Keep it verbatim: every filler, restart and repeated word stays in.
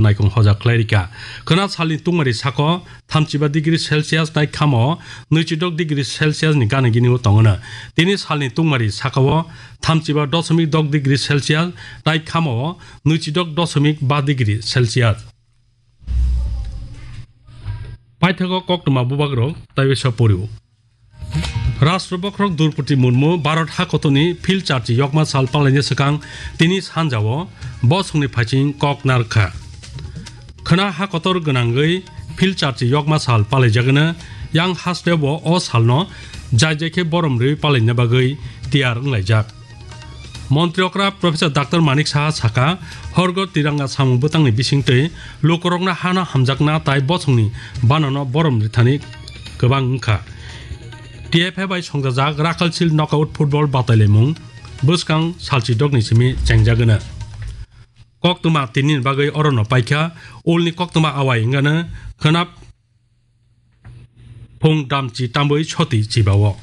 Naikung hoja khlairika. Khwna salni tungmari sako thamchiba degree Celsius tai khamo nwichidok degree Celsius ni gana gini o tongono. Tini salni tungmari sakao thamchiba dosomik dok degree Celsius tai khamo nwichidok dosomik ba degree Celsius. Paithago koktwma bubagrok taiwisa poriwo. Rashtra bokhorok Droupadi Murmu Bharat hakotorni phil charchi yokma sal palaina swkang tini sanjao bosongni phaiching kok narwkha. Khwna hakotor gwnangwi phil charchi yokma sal palaijagwno, yang hasteo bo o salno jai jai khe borom rwi palaina bagwi tiyar wnglaijak. Montri okra Professor Doctor Manik Saha saka, horgo tiranga samung bwtangni bisingtwi lukurokno hano hamjakna tai bosongni banano borom rithani kwbang wngkha. T F A bai songjajak Rakhal Shield Knockout Football batailaimung bwskang salchi dokni simi chengjagwno. Koktwma tinini bagwi orono paikha, ulni koktwma awai wngano khwnap phung damchi tambwi soti chibao.